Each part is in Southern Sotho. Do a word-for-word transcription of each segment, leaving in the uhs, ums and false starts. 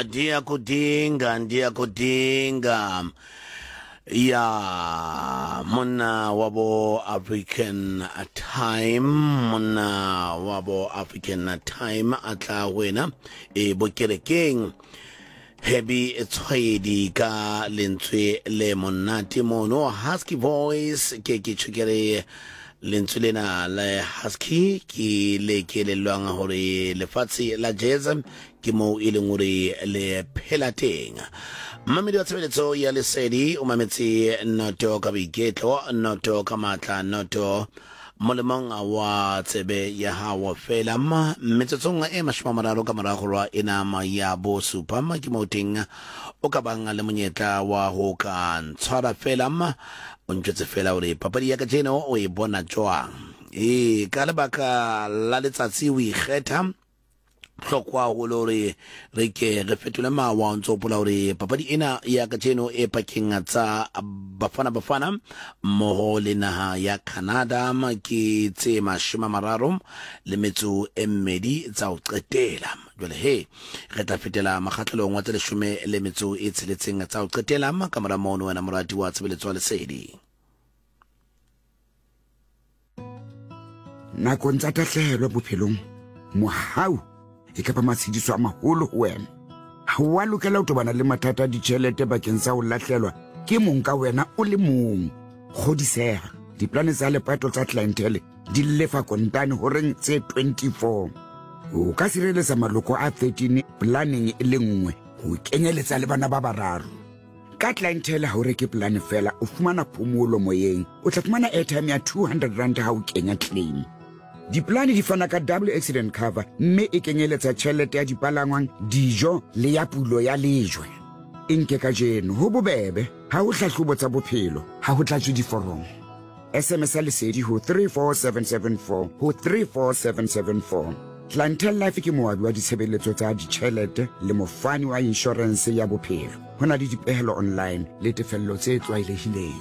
Ndiyakudinga, ndiyakudinga. Ya monna wa bo African Time, monna wa bo African Time a tla wena e bokerekeng. Heavy Tshwaedi ka lentswe le monate mono, husky voice. Ke ke tjhokere lentswe lena le husky ke le ke lelwang hore lefatshe la jazz ke moo e leng hore le phela teng. Mmamedi wa tshebeletso ya Lesedi, o mametse noto ka boiketlo, noto ka matla, noto molemong wa tsebe ya hao fela. Metsotsong e mashome a mararo ka morago rwa enama ya bosupa ke mo teng o ka bang le monyetla wa ho ka ntshwara fela, o ntjwetse fela hore papadi ya kajeno o e bona jwang. E ka lebaka la letsatsi o ikgetha hlokwa haholo hore re ke re fetole mawa. O ntso hopola hore papadi ena ya kajeno e pakeng tsa Bafana Bafana mmoho le naha ya Canada ke tse mashome a mararo le metso e mmedi tsa ho qetela. Jwale he re tla fetela makgatlelong wa tse leshome le metso e tsheletseng tsa ho qetela ka mora mono, wena morati wa tshebeletso wa Lesedi. Nakong tsa tahlehelo bophelong, mohau e ka ba matshediso a maholo ho wena. Ha wa lokela ho tobana le mathata a ditjhelete bakeng sa ho lahlelwa ke mong ka wena o le mong. Kgodiseha, diplane tsa lepato tsa Clientele di lefa kontane horeng tse twenty-four. O ka sireletsa maloko a thirteen planeng e le nngwe, ho kenyeletsa le bana ba bararo. Ka Clientele ha o reke plane fela, o fumana phomolo moyeng. O tla fumana airtime ya two hundred rand ha o kenya claim. Diplane di fana ka double accident cover mme e kenyeletsa tjhelete ya dipalangwang, dijo le ya pulo ya lejwe. E nke kajeno, ho bobebe, ha ho hlahlobo tsa bophelo, ha ho tlatswe diforomo. S M S ya Lesedi ho three four seven seven four ho three four seven seven four. Clientele Life ke moabi wa ditshebeletso tsa ditjhelete le mofani wa inshorense ya bophelo. Ho na le dipehelo online le tefello tse tlwaelehileng.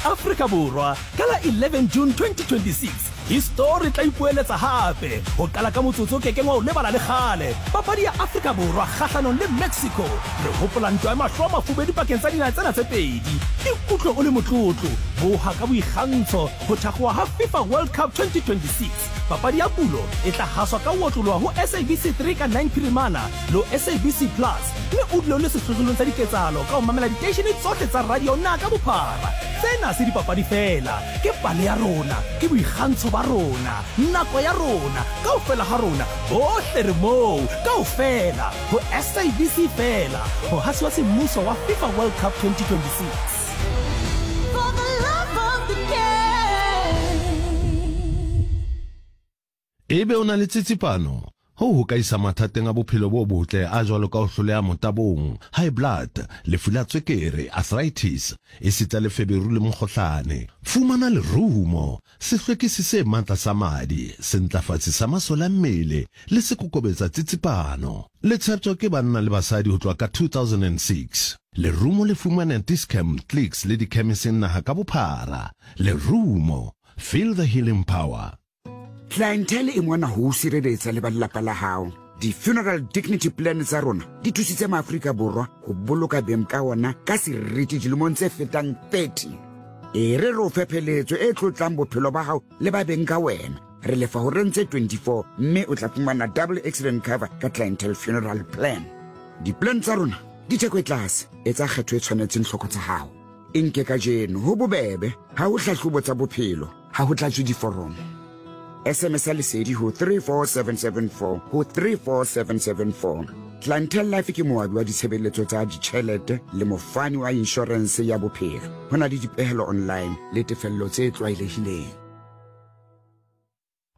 Afrika Borwa ka la eleven June twenty twenty-six, histori tla ipoeletsa hape ho qala ka motsotso o kekeng wa o lebala le kgale. Papadi ya Afrika Borwa kgahlanong le Mexico, re hopola ntwa ya mahlo a mafubedu pakeng tsa dinaha tsena tse pedi. Ikutlwe o le motlotlo, boha ka boikgantsho ho thakgoha ha FIFA World Cup twenty twenty-six. Papadi ya pulo e tla haswa ka ho otloloha ho S A B C three ka nine Phirimana le ho S A B C Plus, mme o dule o le sehlohlolong sa diketsahalo ka ho mamela diteishene tsohle tsa radio naha ka bophara. Tsena se dipapadi fela, ke pale ya rona, ke boikgantsho ba rona, nako ya rona, kaofela ha rona, bohle re moo, kaofela ho S A B C fela, mohasi wa semmuso wa FIFA World Cup twenty twenty-six. For the love of the game. Ebe o na le tsitsipano, ho ho ka isa mathateng a bophelo bo botle a jwalo ka ho hloleha motabong, high blood, lefu la tswekere, arthritis, esita le feberu le mokgohlane. Fumana lerumo, sehlwekisi se matla sa madi, sentlafatsi sa masole a mmele le sekokobetsa tsitsipano. Le tsheptjwa ke banna le basadi ho tloha ka two thousand and six. Lerumo le fumana Dis-Chem, Clicks le dikhemiseng naha ka bophara. Lerumo, feel the healing power. Clientele e mona ho sireletsa le ba lelapa la hao. Di-funeral dignity plan tsa rona di thusitse maAfrika Borwa ho boloka beng ka ona ka seriti dilemong tse fetang thirty. E re re o fe pheletso e tlotlang bophelo ba hao le ba beng ka wena. Re lefa horeng tse twenty-four mme o tla fumana double accident cover ka Clientele funeral plan. Di-plan tsa rona di theko e tlase, etsa kgetho e tshwanetseng tlhoko tsa hao. E nke kajeno, ho bobebe, ha ho hlahlobo tsa bophelo, ha ho tlatswe diforomo. S M S ya Lesedi ho three four seven seven four ho three four seven seven four. Clientele Life ke moabi wa ditshebeletso tsa ditjhelete le mofani wa inshorense ya bophelo. Ho na le dipehelo online le tefello tse tlwaelehileng.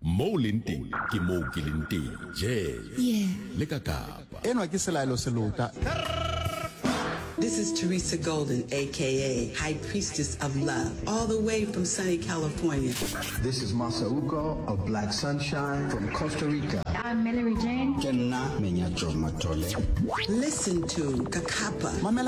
Mo leng teng ke moo ke leng teng. Jazz. Yeah. Le ka Kapa. Enwa ke Selaelo Selota. This is Teresa Golden, A K A High Priestess of Love, all the way from sunny California. This is Masauko of Black Sunshine from Costa Rica. I'm Mallory Jane. Ke nna Menyajo Matole. Listen to Kakapa. Mamela